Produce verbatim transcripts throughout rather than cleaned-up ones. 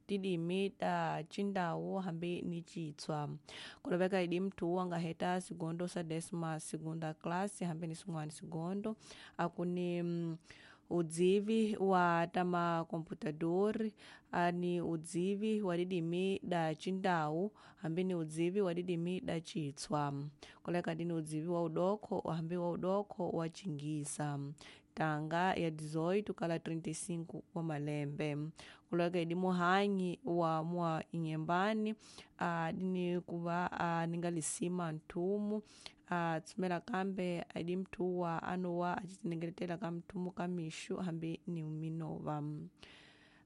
Tidimi ta Cindau hambi ni Citswa. Kulaveka idi mthu anga heta sigondo sa décima segunda classe hambi ni swin'wana sigondo akuni mm, udzivi wa ta makomputador ani udzivi wa didimi da Cindau hambi ni udzivi wa didimi da Citswa. Kuleka dini udzivi wa udokho hambi wa udokho wa Cingisa. Tanga ya dezoito kala trinta e cinco wa malembe. Kuleka idi muhanyi wa mwa Inhambane adini kuva aningalisima nthumu atsumela kambe adi mthu wa anowa acitinengeletela ka mthumu ka mixo hambi ni minova.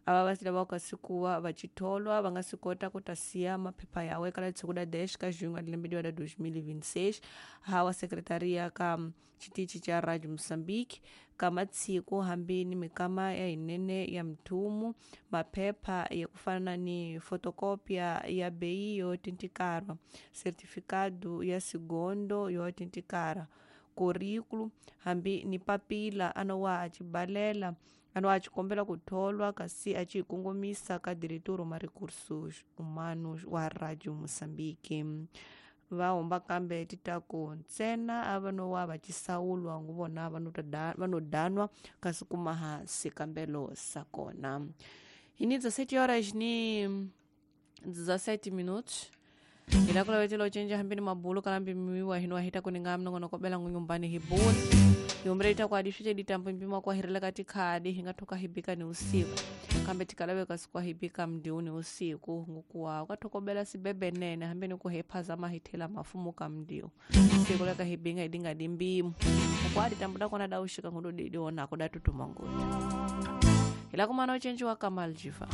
Ava vasila va kasikuwa vacitholwa va nga swi kota ku ta siya maphepha yawe kala siku da dez ka junho a lembe da dois mil e vinte e seis hawa secretaria ka xitichi xa Radio Moçambique ka matshiku hambi ni mikama ya yinene ya mthumu maphepha ya ku fana ni fotocopia ya beyi yo autenticarwa certificado ya sigondo yo autenticara currículo hambi ni papila anowa acibalela anowa acikombela ku tholwa kasi aci kongomisa ka diretor ma recursos humanos wa Radio Moçambique. Va humba kambe titaku ntsena a va nowa va cisawulwa ngu vona va no danwa kasi kumaha xikambelo sa kona. Hi ni dezessete horas ni dezessete minutos. Ila kula wetela ucenja hambi ni mabulu kalambi miwa hino ahita kuninga mnongonoko bela ngunyumbani hibulu. Yombre ita kwa adishu ditambo mpima kwa hirela katika adi hinga toka hibika ni usiku. Kambe tikalawe kasikuwa hibika mdiuni usiku ngukuwa ukatokobela sibebe nene hambi ni kuhepa zama hitela mafumu kamdiu. Siku leka hibinga idinga dimbimu. Kwa adi tambuda kona daushika ngudu didiona kuda tutumangutu. Ila kumana uchenji wa Kamal Jifa.